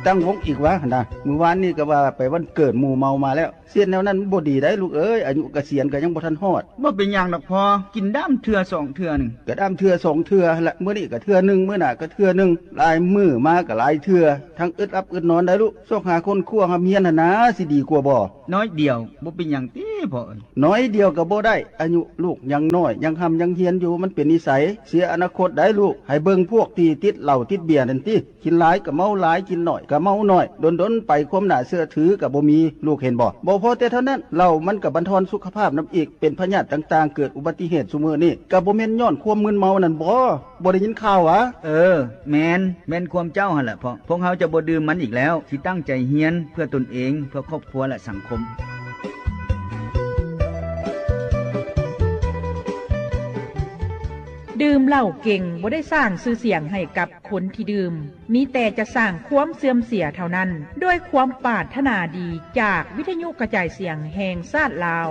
ຕັ້ງວົງອີກຫວາຫັ້ນນະ. ມື້ວານນີ້ກໍວ່າໄປວັນເກີດໝູ່ເມົາມາແລ້ວ. ເຮັດແນວນັ້ນມັນບໍ່ດີໄດ໋ລູກເອີຍ, ອາຍຸກະສຽນກໍຍັງບໍ່ທັນຮອດ. ບໍ່ເປັນຫຍັງດອກພໍ່, ກິນດາມເທື່ອສອງເທື່ອໜຶ່ງ. ກະດາມເທື່ອສອງເທື່ອຫັ້ນລະ, ມື້ນີ້ກໍເທື່ອໜຶ່ງ, ມື້ໜ້າກໍເທື່ອໜຶ່ງ, ຫຼາຍມື້ມາກໍຫຼາຍເທື່ອ. ທັງອຶດຫຼັບອຶດນອນໄດ໋ລູກ. ຊອກຫາຄົ້ນຄວ້າຮ່ຳຮຽນຫັ້ນນາ ຊິດີກວ່າບໍ່? ໜ້ອຍດຽວ, ບໍ່ເປັນຫຍັງຕິພໍ່ເອີຍ. ໜ້ອຍດຽວກໍບໍ່ໄດ້, ອາຍຸລູກຍັງນ້ອຍ, ຍັງຮ່ຳຍັງຮຽນຢູ່, ມັນເປັນນິໄສ. ເສຍອະນາຄົດໄດ໋ລູກ. ໃຫ້ເບິ່ງພວກທີ່ຕິດເຫຼົ້າຕິດເບຍນັ້ນຕິ. ກິນຫຼາຍກໍເມົາຫຼາຍ, ກິນໜ້ອຍກໍເມົາໜ້ອຍ, ດົນໆໄປຄວາມໜ້າເຊື່ອຖືກໍບໍ່ມີ, ລູກເຫັນບໍ່? ບໍ່ພໍແຕ່ເທົ່ານັ້ນ, ເຫຼົ້າມັນກໍບັນທອນສຸຂະພາບນຳອີກ, ເປັນພະຍາດຕ່າງໆ, ເກີດອຸບັດຕິເຫດຊຸມື້ນີ້ ກໍບໍ່ແມ່ນຍ້ອນຄວາມມຶນເມົານັ້ນບໍ? ບໍ່ໄດ້ຍິນຂ່າວຫວາ? ເອີ, ແມ່ນ, ແມ່ນຄວາມເຈົ້າຫັ້ນແຫຼະພໍ່. ພວກເຮົາຈະບໍ່ດື່ມມັນອີກແລ້ວ, ຊິຕັ້ງໃຈຮຽນເພື່ອຕົນເອງ, ເພື່ອຄອບຄົວ ແລະ ສັງຄົມ. ດື່ມເຫຼົ້າເກັ່ງບໍ່ໄດ້ສ້າງຊື່ສຽງໃຫ້ກັບຄົນທີ່ດື່ມ, ມີແຕ່ຈະສ້າງຄວາມເສື່ອມເສຍເທົ່ານັ້ນ. ດ້ວຍຄວາມປາດຖະໜາດີຈາກວິທະຍຸກະຈາຍສຽງແຫ່ງຊາດລາວ.